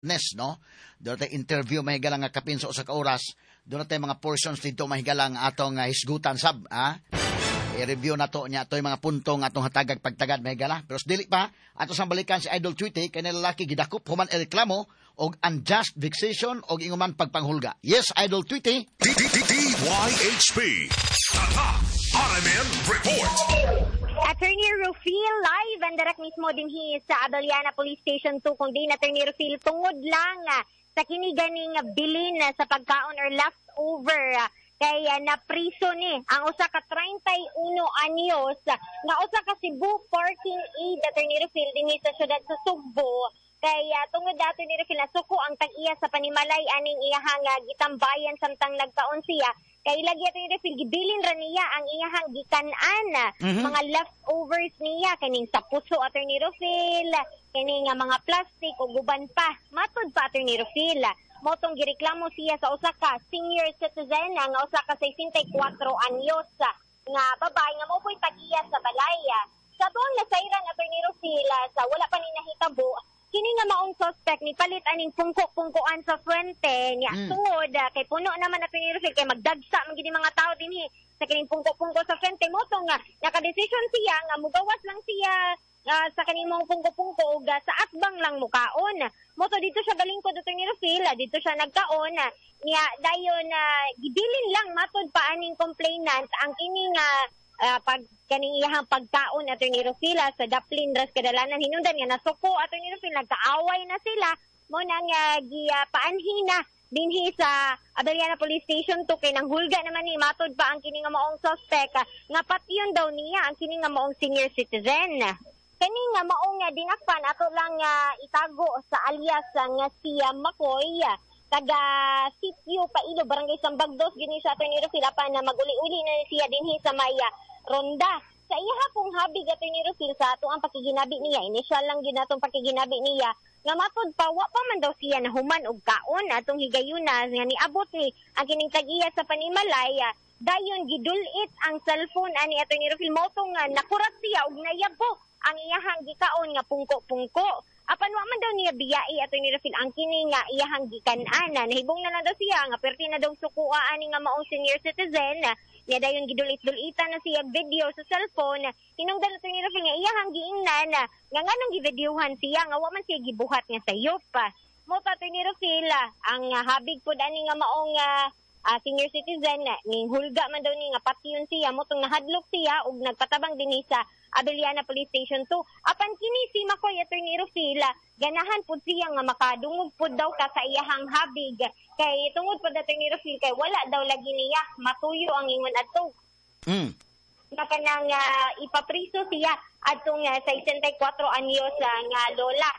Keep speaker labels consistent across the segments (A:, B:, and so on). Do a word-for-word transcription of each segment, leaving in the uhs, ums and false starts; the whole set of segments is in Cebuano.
A: Nes, no? Doon tayo interview mahigala nga kapin sa usa ka oras. Doon tayo mga portions dito mahigala nga atong uh, hisgutan sab, ha? I-review na to niya ato'y mga punto nga atong hatagag pagtagad mahigala. Pero dili pa, ato sang balikan si Idol Tweety kay lalaki gidakop human reklamo og unjust vexation og inguman pagpanghulga. Yes, Idol Tweety.
B: D D D Y H P. Tatak R M M Report.
C: Attorney Rufil, live and direct mismo dinhi sa Abellana Police Station two, kung di na Attorney Rufil, tungod lang ah, sa kini ganing bilin ah, sa pagkaon or leftover ah, kay ah, napriso ni ang usa ka trenta'y uno anyos ah, nga usa ka Cebu parking aide, Attorney Rufil, dinhi sa syudad sa Sugbo, kay uh, tungod dato ni Rufil, nasuko ang tag-iya sa panimalay aning iyahang uh, gitambayan samtang nagkaon siya, kay lagi, Attorney Rufil, gibilin ra niya ang iyahang gikan-an,
A: Mhm.
C: mga leftovers niya, kaning sa puso, Attorney Rufil, kining nga mga plastic ug uban pa. Matod pa, Attorney Rufil, mao tong gireklamo siya sa usa ka senior citizen nga usa ka sesenta'y kwatro anyos nga babae nga mao po'y tag-iya sa balay. Sa tuang nasayran, Attorney Rufil, sa wala pa ni nahitabo, kini nga maong suspect ni palit aning pungko-pungkoan sa Fuente niya.
A: Mm.
C: Tungod ah, kay puno naman, Attorney Rufil, kay magdagsa man gid mga tao dinhi sa kining pungko-pungko sa Fuente, mao tong nga nakadesisyon siya nga mugawas lang siya ah, sa kaning mga pungko-pungko ug ah, sa atbang lang mukaon. Mao to dito siya galingkod, Attorney Rufil, ah, dito siya nagkaon ah, niya dayon na gibilin lang, matod pa aning complainant, ang kini nga ah, pag kaning iyahang pagkaon, Attorney Rufil, ah, sa daplin ras kadalanan. Hinungdan nga nasuko, Attorney Rufil, nagkaaway na sila, mao nang uh, gipaanhi na dinhi sa Abellana Police Station two kay nang hulga naman ni, matod pa ang kini nga maong suspect, ah, nga patyon daw niya ang kini nga maong senior citizen. Kani nga maong nga dinakpan, ato lang nga itago sa alias ah, nga si ah, Makoy, ah, taga Sitio Pailo, Barangay Sambagdos gini sa Attorney Rufil, apan na maguli-uli na siya dinhi sa may ah, Ronda. Sa iya pong habig, Attorney Rufil, sa ato ang pakiginabi niya, initial lang gyud natong pakiginabi niya, nga matod pa, wa pa man daw siya nahuman og kaon atong higayuna nga niabot ni ang kining tag-iya sa panimalay, ah, dayon gidulit ang cellphone ani, Attorney Rufil, mao tong nga nakurat siya og nayabo ang iyahang gikaon nga pungko-pungko. Apan wa man daw niya biyai, Attorney Rufil, ang kini nga iyahang gikan-an. Nahibong na lang daw siya nga perti na daw sukua ani nga maong senior citizen niya, dayon gidulit-dulitan na siya video sa cellphone. Hinungdan, Attorney Rufil, nga iyahang giingnan nga nganong givideohan siya nga wa man siya gibuhat nga sayop. Mao pa, Attorney Rufil, ang ah, habig pod ani nga maong ah, ah, senior citizen na ning hulga man daw ni nga patyon siya, mao tong nahadlok siya ug nagpatabang dinhi sa Abellana Police Station two. Apan kini si Makoy, Attorney Rufil, ganahan pud siya nga makadungog pud daw ka sa iyahang habig kay tungod pud, Attorney Rufil, kay wala daw lagi niya matuyo ang ingon adto
A: Mm.
C: nga kanang ah, ipapriso siya adtong uh, sesenta'y kwatro anyos ah, nga lola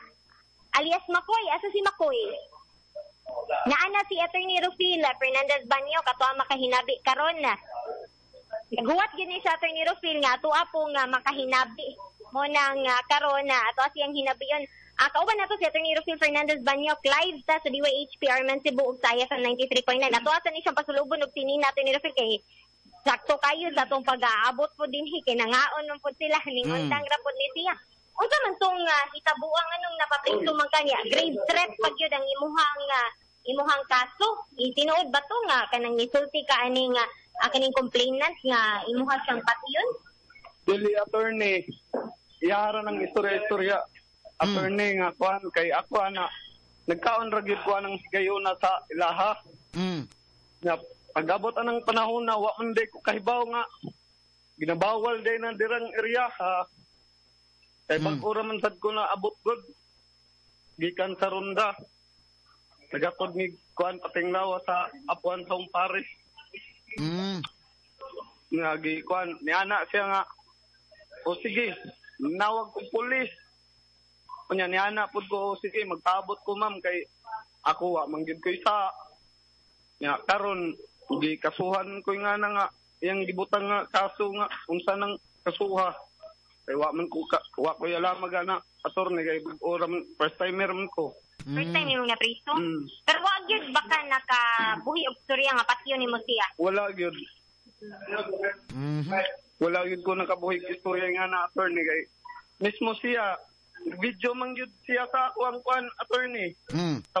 C: alias Makoy. Asa si Makoy? Naana si Attorney Rufil Fernandez Banyo kato ang makahinabi karon na. Naguwat gyud ni sa Attorney Rufil nga ato po nga makahinabi mo nang uh, karon na ato siyang hinabiyon. Ah, kauban nato si Attorney Rufil Fernandez Banyok, live ta sa D Y H P Arman Cebu ug sa I F M ninety-three point nine. Ato asa ni siyang pasulubon og tinina, Attorney Rufil, kay sakto kayo sa atong pag-aabot po dinhi kay nangaon man pud sila ning
A: Mm.
C: undang ra pud ni siya. Unsa man tong uh, hitabuang anong napapriso man kanya? Grave threat pag yun ang imuhang ah, imuhang kaso. Itinuod ba to nga kanang nisulti ka aning uh, kaning complainant nga imuha siyang patyon?
D: Dili, attorney. Iyara ng istorya-istorya. Attorney nga kuan kay ako ana nagkaon ra gyud ko anang higayuna sa ilaha.
A: Mm.
D: Nga pag-abot anang panahon na wa man day ko kahibaw nga ginabawal day na dirang area ha. Kay
A: Mm.
D: bag-o ra man sad ko na abot gud. Gikan sa Ronda. Nagakod ni kuan patinglawa sa apuan sa Paris.
A: Mm.
D: Nga gi kuan niana siya nga o sige, nawag ko pulis unya niana pud ko, "O, sige, magpaabot ko, ma'am, kay ako wa man gyud ko isa nya karon gi kasuhan ko nga na nga iyang gibutang nga kaso nga unsa nang kasuha kay wa man ko ka, wa ko alam ana, attorney, kay bag-o ra man, first timer man ko."
C: First time imong napriso?
D: Mm.
C: Pero wa gyud baka nakabuhi og storya nga patyon nimo siya?
D: Wala gyud.
A: Mhm.
D: Wala gyud ko nakabuhig istorya nga na, attorney, kay mismo siya video man gyud siya sa ako ang kuan, attorney.
A: Mm.
D: Sa